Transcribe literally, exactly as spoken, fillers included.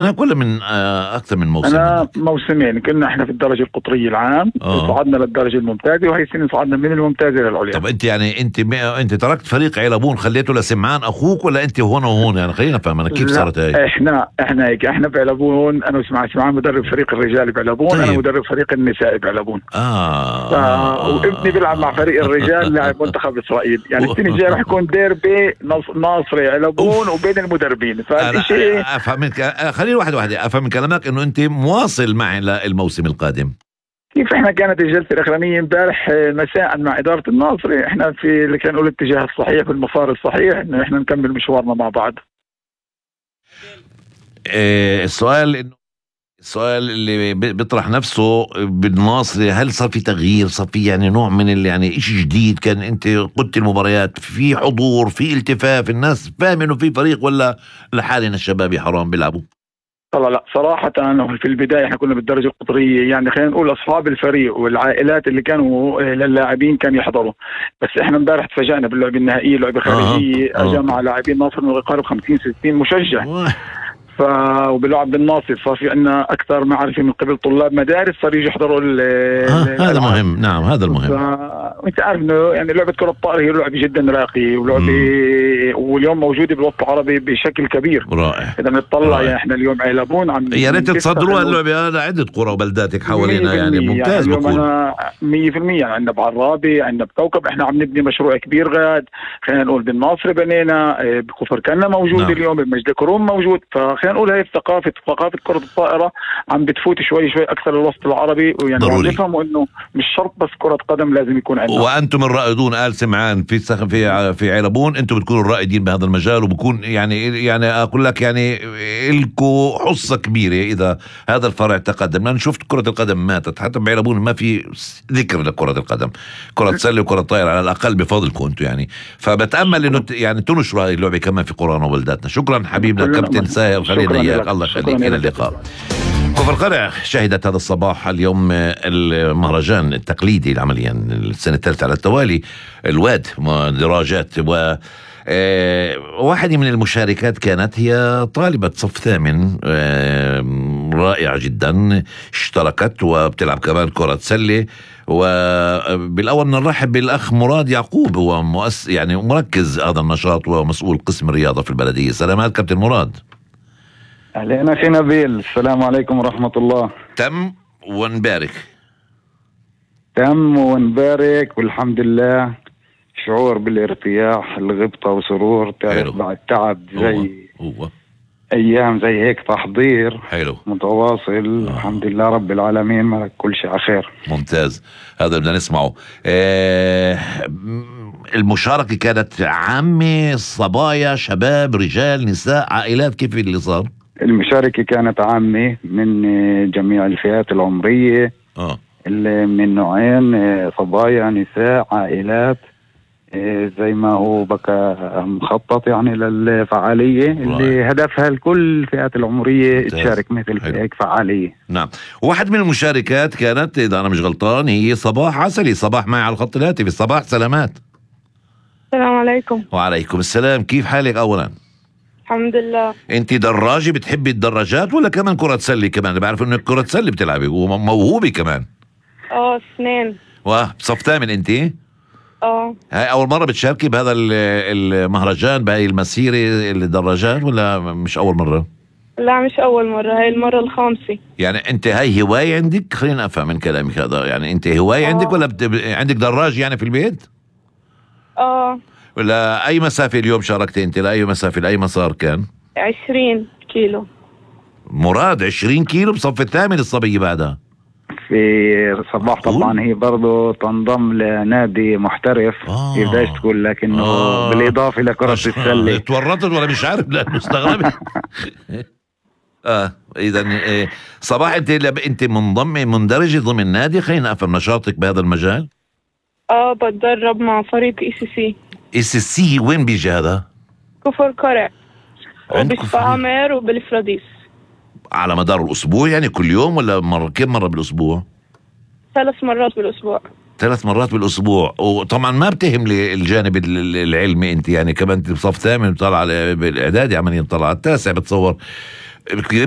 ولا من آه اكثر من موسم؟ انا موسمين، كنا احنا في الدرجه القطريه العام، آه. صعدنا للدرجه الممتازه، وهي السنه صعدنا من الممتازه للعليا. طب انت يعني انت انت تركت فريق عيلبون خليته لسمعان اخوك، ولا انت هون وهون؟ يعني خلينا نفهم انا كيف صارت هاي. احنا احنا هيك احنا بعيلبون، انا وسمعان سمعان مدرب فريق الرجال بعيلبون. طيب. انا مدرب فريق النساء بعيلبون. اه, ف... آه. وابني بيلعب مع فريق الرجال لاعب منتخب اسرائيل. يعني السنه الجايه رح يكون ديربي ناصري عيلبون وبين المدربين. فشيء افهم منك، خليني واحد واحد افهم من كلامك انه انت مواصل معي للموسم القادم. كيف احنا كانت الجلسه الاخرانيه امبارح مساء مع اداره الناصري، احنا في اللي كان نقول الاتجاه الصحيح في المسار الصحيح انه احنا نكمل مشوارنا مع بعض. إيه السؤال انه السؤال اللي بيطرح نفسه بالناصري، هل صار في تغيير؟ صار في يعني نوع من اللي يعني اشي جديد؟ كان انت قلت المباريات في حضور، في التفاف، الناس فاهم انه في فريق، ولا لحالنا الشباب حرام بيلعبوا؟ طبعا لا صراحة في البداية احنا كنا بالدرجة القطرية، يعني خلينا نقول أصحاب الفريق والعائلات اللي كانوا للاعبين كانوا يحضروا، بس احنا امبارح تفاجأنا باللعبة النهائية، لعبة خارجية آه. آه. جمع لاعبين ناصر من يقارب خمسين ستين مشجع آه. ف وباللعب بالناصر صار في عندنا اكثر معرفه من قبل طلاب مدارس صار يجوا يحضروا آه هذا مهم. نعم هذا المهم. وانت عارف انه يعني لعبه كره الطائره هي لعبه جدا راقيه، ولعبه واليوم موجوده بالوطن العربي بشكل كبير. رائع. اذا بنطلع يعني احنا اليوم عيلبون عم يا ريت تصدروا اللعبه هذا عده قرى وبلداتك حوالينا، يعني ممتاز. يعني بكون انا مية بالمية يعني عندنا بعرابي، عندنا بكوكب، احنا عم نبني مشروع كبير غاد، خلينا نقول بالناصر بنينا، بكفر كنا موجود. نعم. اليوم بمجد كروم موجود. فخلينا نقول هي ثقافة ثقافة كرة الطائرة عم بتفوت شوي شوي أكثر الوسط العربي، ويعني عم نفهموا إنه مش شرط بس كرة قدم لازم يكون عندنا. وأنتم الرائدون آل سمعان في في في عيلبون، أنتم بتكونوا الرائدين بهذا المجال، وبكون يعني يعني أقول لك يعني إلكو حصة كبيرة إذا هذا الفرع تقدم. لأن شفت كرة القدم ماتت حتى بعيلبون، ما في ذكر لكرة القدم، كرة سلة وكرة طائرة على الأقل بفضلكم أنتم يعني. فبتأمل إنه يعني تنشروا هذه اللعبة كمان في قرانا وبلداتنا. شكرا حبيبنا كابتن ساهر، خلينا إياك. الله يخليك، إلى اللقاء. كفر القرع شهدت هذا الصباح اليوم المهرجان التقليدي عمليا السنة الثالثة على التوالي، الواد دراجات. و واحدة من المشاركات كانت هي طالبة صف ثامن رائعة جدا، اشتركت وبتلعب كمان كرة سلة. وبالأول نرحب بالأخ مراد يعقوب، هو مؤسس يعني مركز هذا النشاط ومسؤول قسم الرياضة في البلدية. سلامات كابتن مراد. أهلين أخي نبيل، السلام عليكم ورحمة الله. تم ونبارك. تم ونبارك والحمد لله. شعور بالارتياح، الغبطة وسرور، تعرف بعد تعب زي هو. هو. أيام زي هيك تحضير حلو متواصل. آه. الحمد لله رب العالمين، مالك كل شيء على خير. ممتاز، هذا بدنا نسمعه. آه المشاركة كانت عامة، صبايا، شباب، رجال، نساء، عائلات، كيف اللي صار؟ المشاركة كانت عامة من جميع الفئات العمرية. آه. اللي من نوعين، صبايا، نساء، عائلات، زي ما هو بقى مخطط يعني للفعالية اللي هدفها لكل الفئات العمرية تشارك مثل في هيك فعالية. نعم. واحد من المشاركات كانت إذا أنا مش غلطان هي صباح عسلي. صباح معي على الخط الهاتفي. صباح سلامات. السلام عليكم. وعليكم السلام، كيف حالك أولا؟ الحمد لله. انت دراجة بتحبي الدراجات ولا كمان كرة سلة كمان؟ بعرف انك كرة سلة بتلعبي وموهوبة كمان. اه اثنين. واه بصف ثامن انت؟ اه. هاي اول مرة بتشاركي بهذا المهرجان بهاي المسيرة الدراجات ولا مش اول مرة؟ لا مش اول مرة، هاي المرة الخامسة. يعني انت هاي هواية عندك؟ خلينا افهم من كلامك هذا، يعني انت هواية أوه. عندك ولا بت... عندك دراج يعني في البيت؟ اه. ولا اي مسافة اليوم شاركتي انت؟ لاي مسافة لاي مسار كان؟ عشرين كيلو. مراد عشرين كيلو بصف الثامن الصبية بعدها في صباح. طبعا هي برضو تنضم لنادي محترف آه. يقدرش تقول، لكنه آه. بالإضافة لكرة السلة. تورطت ولا مش عارف؟ لا مستغرب. اه اذا إيه صباح انت انت منضمه مندرجه ضمن نادي؟ خلينا افهم نشاطك بهذا المجال. اه بتدرب مع فريق اي سي سي. اي سي سي وين بيجي هذا؟ كفر قرع وبالسعامر وبالفراديس. على مدار الاسبوع يعني كل يوم ولا مره؟ كم مره بالاسبوع؟ ثلاث مرات بالاسبوع. ثلاث مرات بالاسبوع. وطبعا ما بتهم لي الجانب العلمي انت، يعني كمان بصف ثامن بتطلع بالاعدادي عمليا بتطلع على التاسع بتصور. كتير